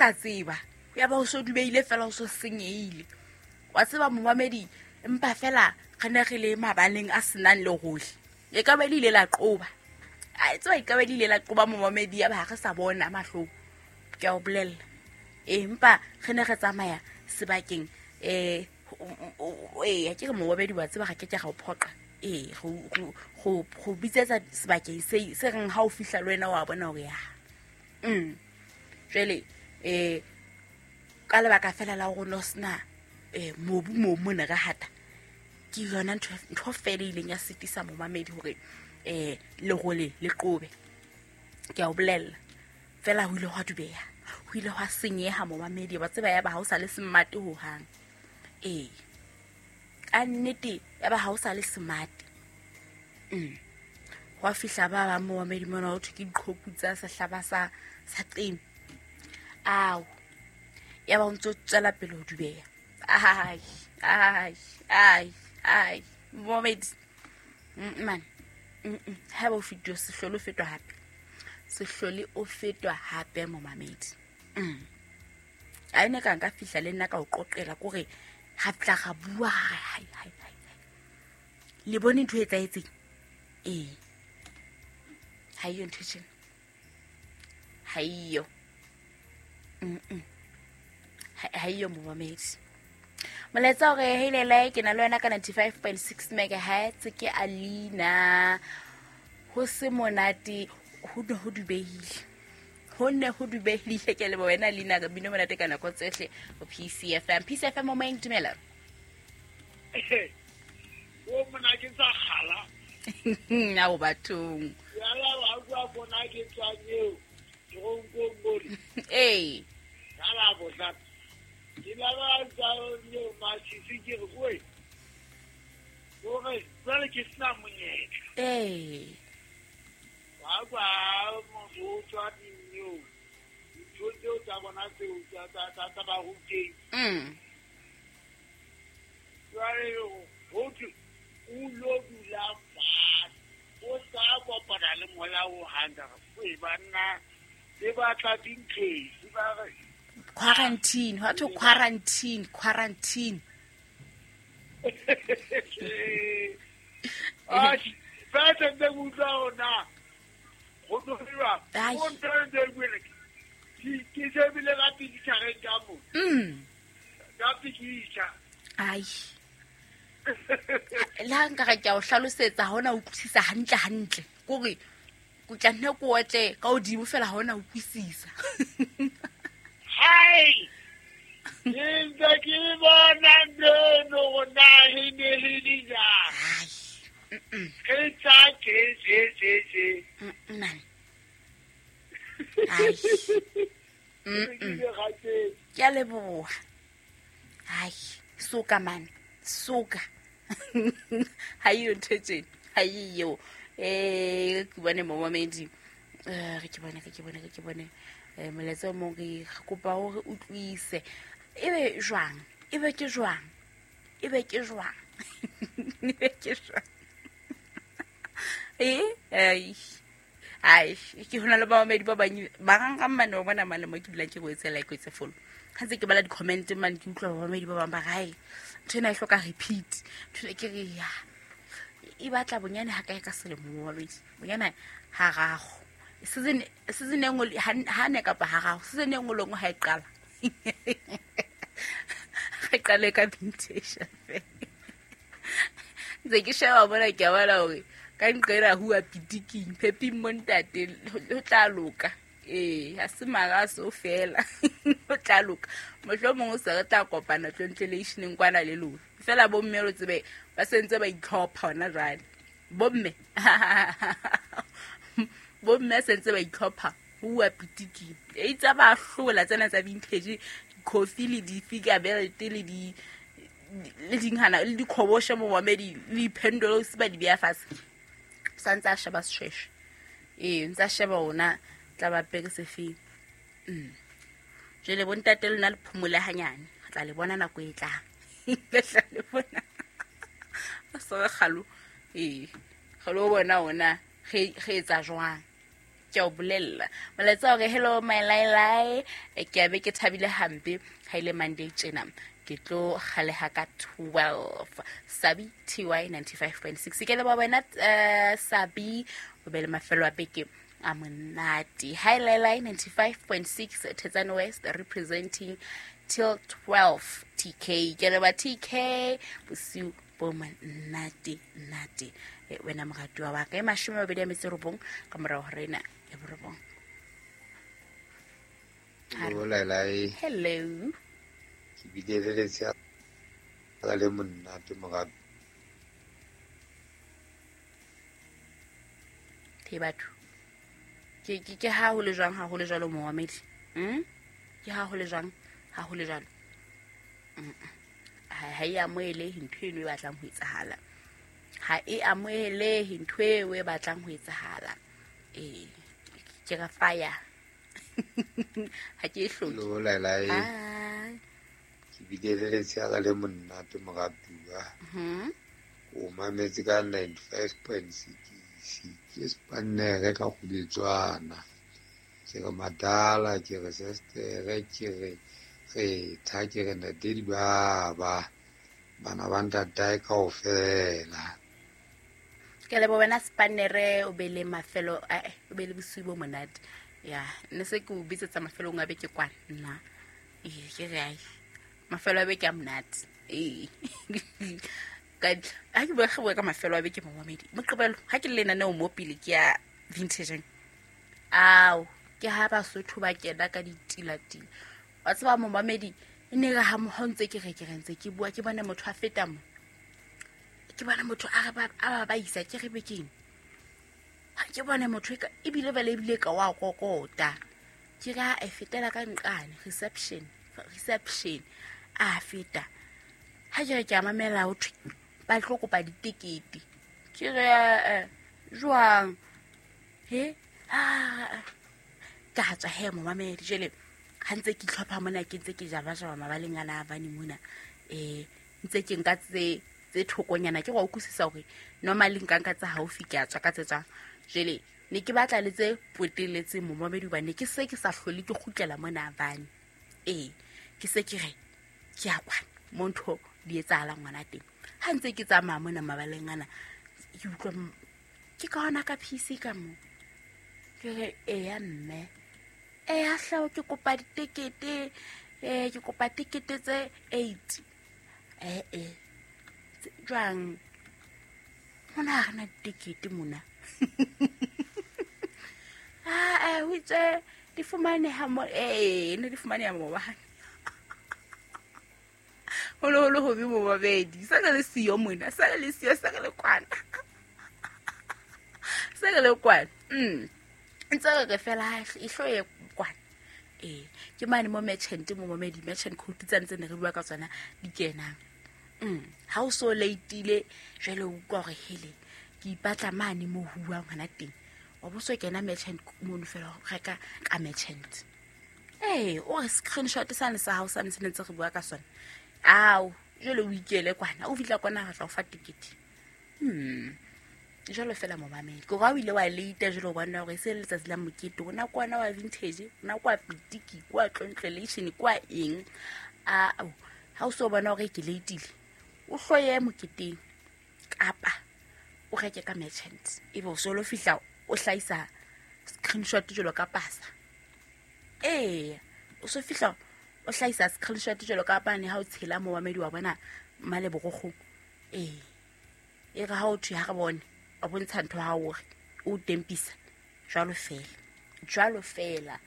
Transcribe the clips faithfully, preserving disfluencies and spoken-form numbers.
Sa tseba ya ba o so dubeile fela o so senyehile wa tseba momamedi empa fela re ne re le mabaleng a senang le gohle e ka ba le ile la qoba a tseba e ka ba le ile la qoba momamedi ya ba re sa bona mahlong ke a o bolella empa re ne re tsamaya sebakeng eh eh ke re momamedi wa tseba ga ke ke ga o phoqa eh go go go bitsetsa sebakeng se se reng ha o fihla le wena wa bona hore ya mm jwale eh ka lebaka fela la gore no sna eh mobu mo mona re hata ke yona ntho ntho fela ileng ya sitisa momamedi hore eh le gole le qobe ke a o bolella fela ho ile hwa dubeha ho ile hwa senyeha momamedi ba tseba ya ba ha o sa le smart ho hang eh ka nnete ya ba ha o sa le smart mm hwa fihla ba ba momamedi mona ho thwe ke diqhoku tsa sehlaba sa sa qeme ao ya ba ntse tswela pele ho dubeha ai ai ai ai momamedi man ha ba fitio sehlolo fetwa hape sehlole o fetwa hape momamedi mm a ene ka nka fihla le nna ka o qoqela kore ha tla ga bua hai hai hai le bone ntho e etsaetseng eh ha iyo ntho tjena ha iyo mm ha iyo momamedi molaetsa hore heilele ke na le wena ka ninety-five point six megahertz ke Alina ho se monate ho ne ho dubehile ho ne ho dubehile ke le wena Alina ka bino monate ka nako tsohle ho P C F M P C F M mo moeng dumela o mona ke tsa kgala na o bathong ya la wa bua bona ke tswang eo ronkong bole eh ka la botla ke la ba tsa yo matjhisi ke re oi gore jwale ke sena monyetla eh wa kwa motho o tswa dinyo ntho tseo tsa bona tseo tsa tsa tsa ba ruteng mm jwale ho thwe o lo dula fatshe o sa kopana le moya o handa e banna le batla dinkesi ba re quarantine what to quarantine quarantine ah ba tse utlwa ona go diriwa o ntse gwele ke ke shebile ka picture ka mo mm ka picture ai la nka ga ke a o hlalosetsa ha ona utlwisisa hantle hantle kore go tla nne ko otle ka odimo fela ha ona utlwisisa hai ntse ke bona ntho na hi ne hi di ja ai ke tsa ke je je je man ai ke a leboha ai soka man soka ha iyo ntho tse ha iyo eh ke bone momamedi eh re ke bone re ke bone re ke bone eh molaetsa o mong re kopa hore utlwise ebe jwang ebe ke jwang ebe ke jwang ebe ke jwang eh ai ai ke hona le bamamedi ba bang ba rang mane o bona mane mo ke dula ke go etsela ke etse follow ha ntse ke bala di-comment mane ke utlwa bamamedi ba bang ba re ntho ena e hloka repeat ntho ke re ya e batla bonyane ha kae ka selemo momamedi bonyane harago season season e nngwe ha ne kapa harago season e nngwe le nngwe ha e qala re qale ka vintage ntse ke sheba bona ke a bona hore ka nqela hua pitiking pheping mo ntate ho tla loka eh ha se mara so fela ho tla loka mohlomong o se re tla kopana tlontleleisheneng kwana le lona fela bomme lo tsebe ba sentse ba itlhopha hona jwale bomme bomme sentse ba itlhopha hua pitiking e itsa ba hlola tsena tsa vintage coffee le di-figure belt le di le dinghana le dikhoboshe momamedi le diphendolo se ba di beya fatshe sa ntse a sheba seshweshwe ee ntse a sheba ona tla ba pere sefeng mm jwale bontate lona le phomole hanyane re tla le bona nako e tlang le tla le bona so kgalo ee kgalo bona ona re re etsa jwang Ke o bolella molaetsa hore hello my lailai, ke a be ke thabile hampe ha ile Monday tjena ke tlo kgaleha ka twelve. Sabi T Y ninety-five point six ke le ba wena uh, Sabi o be le mafelo a beke a monate. Hi lailai ninety-five point six Thetsane West representing till twelve T K. Ke le ba T K bosiu bo monate nate wena moratuwa wa ka e mashome a mabedi a metso e robong ka morao ho rena ya borobong. Hello lailai. Hello. Ke bile le letsatsi le monate moratuwa. Ke batho. Ke ke ke ha ho le jwang ha ho le jwalo momamedi. Hm? Ke ha ho le jwang ha ho le jwalo. Ha e amohele ntho eno e batlang ho etsahala. Ha e amohele ntho eo e batlang ho etsahala. Eh ke re fire. Ha ke e hloke. Hello lailai. Ke bile le letsatsi le monate moratuwa. Mhm. O mametse ka ninety-five point six ke spannere ka kgubetswana. Ke re madala, ke re sestere, ke re re tha, ke re ntate baba bana ba ntatae kaofela. Ke leboha wena spannere, o be le mafelo eh o be le bosiu bo monate. Ya ne se ke o bitsetsa mafelong a beke kwana nna. Eh ke re ai mafelo a beke a monate. Eh ka ha ke bua bua ka mafelo a beke momamedi moqebelo ha ke le lenaneo mo pele ke ya vintage. Ao ke ha Basotho ba kena ka ditilatila. Wa tseba momamedi e ne re ha mo ntse ke re ke re ntse ke bua ke bona motho a feta mo. Ke bona motho a re ba a ba isa ke re bekeng. Ha ke bona motho e ebile ba le ebile ka wa kokota. Ke ra e fetela ka nqane reception reception a feta. Ha ke re ke a mamela ho thwe ba tlo kopa ditekete. Ke re jwang he ah ka tswa he momamedi jele ha ntse ke tlhopha mona ke ntse ke jaba jaba mabaleng ana a bane mona eh ntse ke nka tse tse thokonyana ke go utlwisisa hore normally nka nka tsa haufi ke a tswa ka tse tswang jele ne ke batla le tse poteletseng momamedi ba ne ke se ke sa hlole ke kgutlela mona bane eh ke se ke re ke a kwana mo ntho di etsahala ngwana teng ha ntse ke tsamaya mona mabaleng ana ke utlwa ke ka hona ka P C ka mo ke re eya mme eh ha hlao ke kopa ditekete eh ke kopa tekete tse eight eh eh jwang mona ha rena ditekete mona ah eh ho itse di fumaneha mo eh ne di fumaneha mo ba holo holo ho be mo babedi sa le siyo mona sa le siyo sa le kwana sa le kwana mm ntse re fela e hloye kwana eh ke mane mo merchant mo momedi merchant code tsa ntse ne re bua ka tsona di kenang mm ha o so leitile jwale o utlwa hore hele ke ipatla mane mo huang hona teng wa bo so kena merchant mono fela reka ka merchant eh o screenshot sane sa hao sa ntse ntse re bua ka sona ao jwale o ikele kwana o fitla kwana ga tla o fa ticket hmm jwalo fela momamedi ke ga o ile wa leita jwale o bona hore se letsatsi la mokete ona kwana wa vintage ona kwa pitiki kwa tlontlelation kwa eng a ha o so bona hore ke leitile o hloye moketeng kapa o reke ka merchant ebe o so lo fihla o hlahisa screenshot jwalo ka pasa eh o so fihla o hlahisa screenshot jwalo ka pane ha o tshela momamedi wa bona male borokgo eh e re ha o thwe ha re bone a bontsha ntho ha o re o tempisa jwalo fela jwalo fela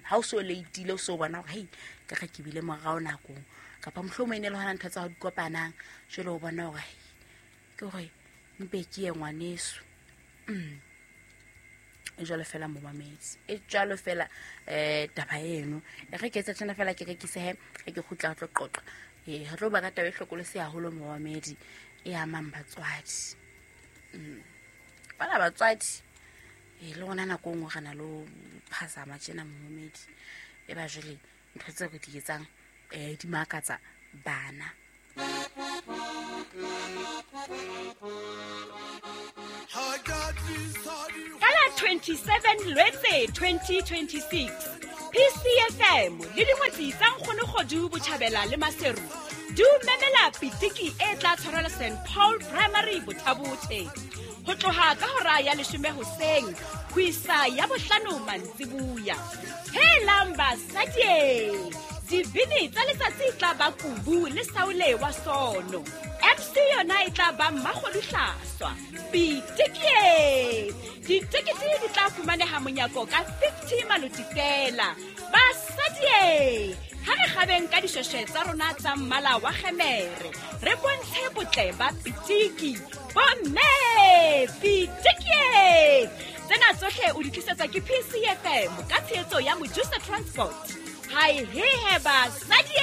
ha o so leitile o so bona hore hei ke re ke bile morao nakong kapa mohlomong e ne le hona ntho tsa ho di kopanang jwale o bona hore ke hore mpe ke ye ngwaneso mm e jwalo fela momamedi e jwalo fela eh taba eno e re ke etsa tjena fela ke rekise he ke kgutla tlo qoqa eh re tlo ba ka taba e hlokolose haholo momamedi e amang batswadi mm bana batswadi e le rona nako nngwe re na le phasama tjena momamedi e ba jwale ntho tse re di etsang eh di makatsa bana. Ka la twenty-seven Lwetse twenty twenty-six, P C F M le dingwetsi tsa Nkgonokgodu Botjhabela le Maseru di o memela pitiki e tla tshwarelwa Saint Paul Primary Bothabothe ho tloha ka hora ya leshome hoseng ho isa ya bohlano mantsibuya. Helang basadi, dibini tsa letsatsi e tla ba Kubu le Saule wa Sono. M C yona e tla ba Mmakgodu Hlaswa. Pitiki! Ditekete di tla fumaneha monyako ka fifty maloti fela. Basadi, ha re kgabeng ka dishweshwe tsa rona tsa mmala wa kgemere, re bontshe botle ba pitiki. Bomme, pitiki! Tsena tsohle o di tlisetsa ke P C F M ka tshehetso ya Mojusa Transport. Hai he he basadi!